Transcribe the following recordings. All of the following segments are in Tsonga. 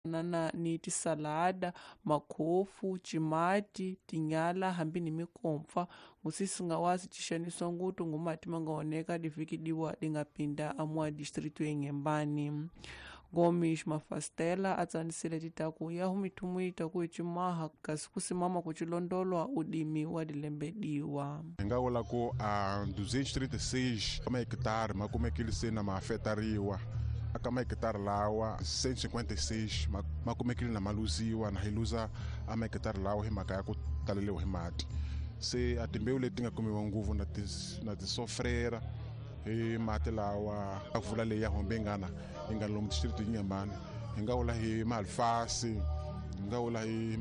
Na ni tisalada, makhofu, cimati, tinyala hambi ni mikompfa ngusisi nga ci xanisiwa nguthu ngumati ma nga oneka divhiki diwa di nga pinda amua distrito ya Inhambane. Gomes Mafastela a tsanisile titaku ya mithumu yi taku hi cimaha kasi ku simama ku cilondolwa udimi wa dilembe diwa. Hi nga vula ku a 236 mahekitari ma kumekile se na ma afetariwa. Aka mahekitari lawa 156 ma kumekile na ma luziwa, na hi luza a mahekitari lawa hi mhaka ya ku taleliwa hi mati. Se a timbewu leti nga kumiwa ngopfu na tisofrera hi mati lawa a vula leyi ya hombe ngana yi nga lomu district Inhambane. Hi nga vula hi maalfasi, hi nga vula hi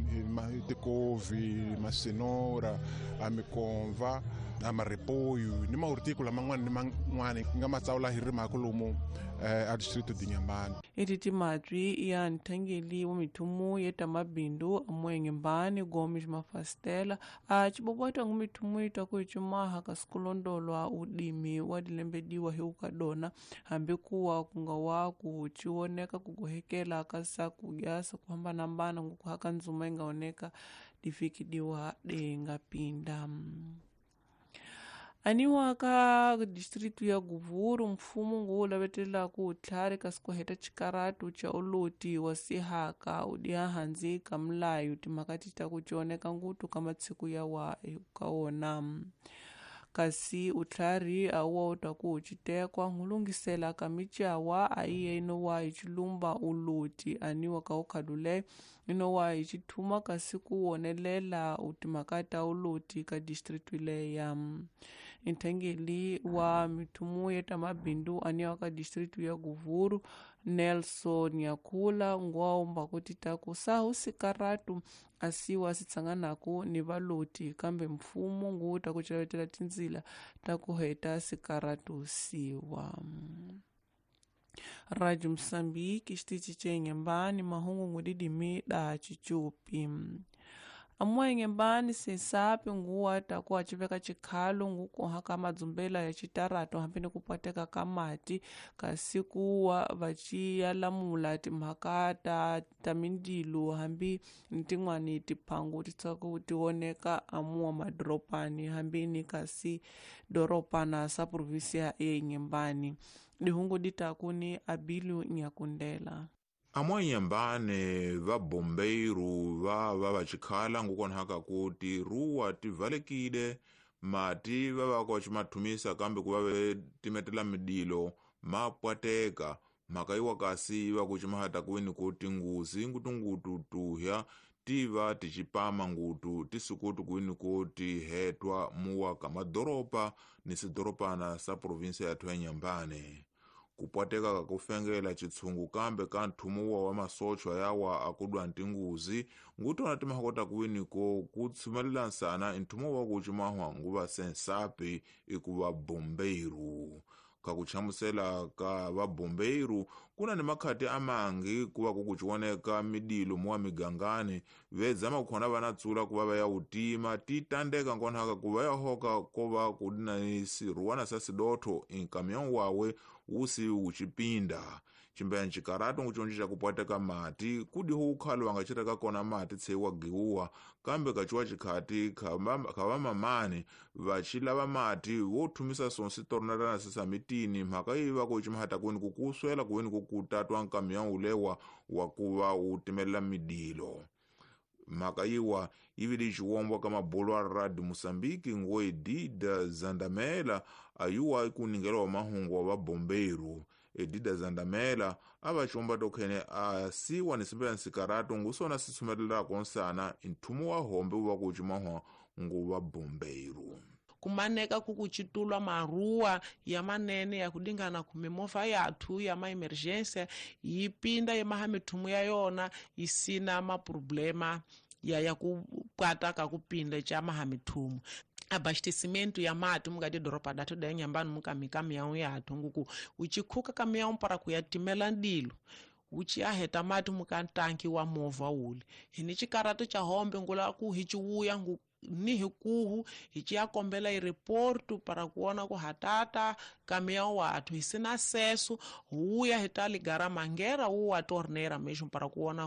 tikovi, masenora, a mikomva, a maripoyu ni mahorticola man'wana ni man'wana hi nga ma tsawula hi rimaka lomu a distrito d'Inhambane. Eti timatwi ya nthangeli wa mithumu ya tamabindu amuwa Inhambane Gomes Mafastela a cibobota ngu mithumu yi taku hi cimaha kasi kulondolwa udimi wa dilembe diwa hi ukadona hambi kuwa ku nga wa ku ciwoneka ku gohekela ka sakudya sa ku hambanahambana ngu kuhaka ndzuma yi nga oneka divhiki diwa di nga pinda. Aniwa ka distrito ya Govuro mfumo ngu lavetelaka utlhari kasi ku heta xikaratu xa uloti wa sihaka udiha hansi ka milayo timhaka ti ta ku cioneka nguthu ka matshiku ya wa ka wona. Kasi utlhari a wa u ta ku citekwa ngulungisela ka micawa a iye inowa hi cilumba uloti aniwa ka ukhalule inowa hi cithuma kasi ku wonelela timhaka ta uloti ka district leya. Nthengeli wa mithumu ya tamabindu aniwa ka district ya Govuro Nelson Yakula ngwaumba kuti taku sahu sikaratu asiwa sitsanganaku ni valoti kambe mfumo ngu ta ku celetela tindzila ta ku heta sikaratu siwa. Radio Msambiki xitichi ca Inhambane mahungu ngudidimi da cicupi. Amuwa Inhambane sensapi nguwa taku aciveka cikhalo ngukuha ka madzumbela ya citarato hambi ni kupwateka ka mati kasi kuwa vaciya lamula timhaka ta mindilo hambi ni tin'wani tiphangu ti tsaka ti oneka amuwa madoropani hambi ni kasi doropana sa provinsia ya Inhambane. Dihungu di taku ni Abilio Nyakundela. Amwa Inhambane va bombeiru va va vacikhala ngukonhaka ku tiruwa ti valekile mati va va ka cimathumisa kambe ku va ve timetela midilo ma pwateka mhaka yiwa kasi yi va ku cimahata kuweni ku tinguzi ngutungutu tuhya ti va ticipama ngutu tisikutu kuweni ku ti hetwa muwa ka madoropa ni sidoropana sa provinsia yathu ya Inhambane. Kupwateka ka kufengela chitsungu kambe ka nthumuwa wa masochwa yawa akudwa ntinguzi ngutona timahakota kuwini ko kutsumelela nsana nthumuwa wa kucimahwa nguva sensapi ikuva bombeiru. Kakuchamusela ka vabombeiru kuna ni makhati amangi kuva kukucioneka midilo muwa migangani vedzama kukhona vanatsula kuva va ya utima titandeka nkonhaka kuva ya hoka kova kudina ni siruwana sa sidotho inkamião wawe usi wucipinda. Cimbeya ncikarato nguconji ca kupwateka mati kudiho ukhalo wangacireka kona mati tseiwa giwuwa kambe kaciwa cikhati khava mamani vacilava mati wothumisa sonsi tornarana sisamitini mhaka yi va ku cimahata kuweni kukuswela kuweni kukutatwa nkamião ulewa wa kuva utimelela midilo. Mhaka yiwa yivili xiwombwa ka mabulu a Radio Mosambiki ngo Edida Zandamela ayuwa ikuningela wa mahungu wa vabombeiru. Edida Zandamela a va xomba tokhene a siwa ni simbe nsikarato ngusona sitsumelelako nsana nthumu wa hombe wu va ku cimahwa ngu va bombeiru. Kumaneka kukucitulwa maruwa ya manene ya kudingana ku mimovha yathu ya ma-emergency yi pinda yemaha mithumu ya yona yi sina maproblema ya ku kwata ka kupinda cha maha mithumu. Abastecimento ya mati mukati doropa datu da Inhambane mukamika miau yathu nguku uchikhuka kamiau para kuyatimela ndilo uchiaheta mati mukantanki wa movha ule hini chikarato cha hombe ngula ku hichiwuya ngu Ni hikuhu hi ciya kombela i-report para kuona ku hatata caminhão wathu hi sina acesso huya hi ta ligar a mangueira ou a torneira mesmo para kuona